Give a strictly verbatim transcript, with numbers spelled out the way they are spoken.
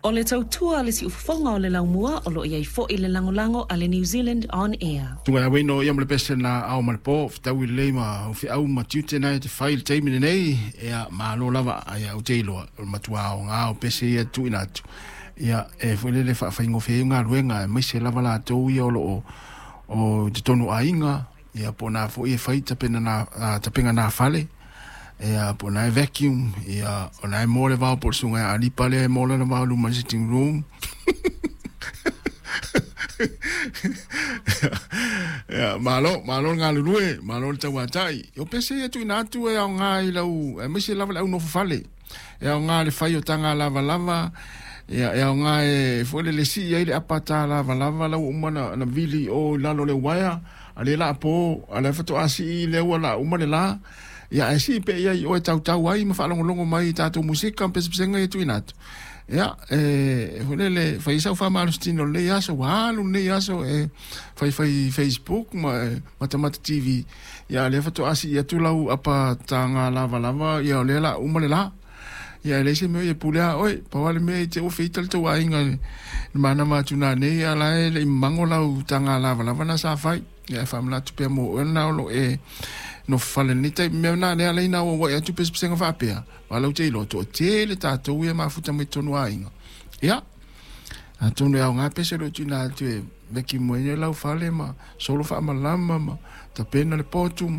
O le tautua a le siufofoga o le laumua o lo o i ai foi le lagolago a le New Zealand On Air. Tunga ia no ia mo le pese na ao ma le po, fetaui lelei ma o feau ma tiute na e te fai le taimi lenei, ia malo lava ia o te iloa, o le matua aoga o pese ia tuuina atu. Ia e foi lele faafaigofie ai galuega aemaise lava latou ia o lo o o totonu aiga, ia po o na foi e fai tapena na tapena na fale, ia po o na e vacuum, ia o na e mo le vao po o le susuga ia Alipa lea e mo lana vao i luma i le sitting room. Ia, malo, malo le galulue, malo le tauatai. O pese ia tuuina atu e aoga i lau, aemaise lava le au nofo fale. E aoga le fai o taga lavalava, ia e aoga e foi lele sii ai le apa ta lavalava la ua uma na, na vili o i lalo o le uaea, a le la po, a le faatoa sii lea ua la uma le la. Ia ae sii pea i ai i oe tautau ai ma faalogologo mai i tatou musika ma pesepesega ia tuuina atu. Ia, e foi lele, fai sau faamalositino i lenei aso, ua alu lenei aso e faifai Facebook ma e matamata T V. Ia, lea faatoa sii atu lau apa taga lavalava, ia o lea la uma le la. Ia, e leai se mea ia pule a oe, pau lava le mea i te ua feita le tou aiga i le manama atu nanei, a la e le i mago lau taga lavalava na sa fai. Ia, e faamanatu pea mo oe lena o lo o e nofo fale i lenei taimi. Mea na lea ala ai na auauai atu pesepesega faapea, aua lau te iloa, toatele tatou ia mafuta mai totonu o aiga. Ia, atonu e aoga pese o lo o tuuina atu e veki mai ai lau fale ma solo faamalama ma tapena le potu ma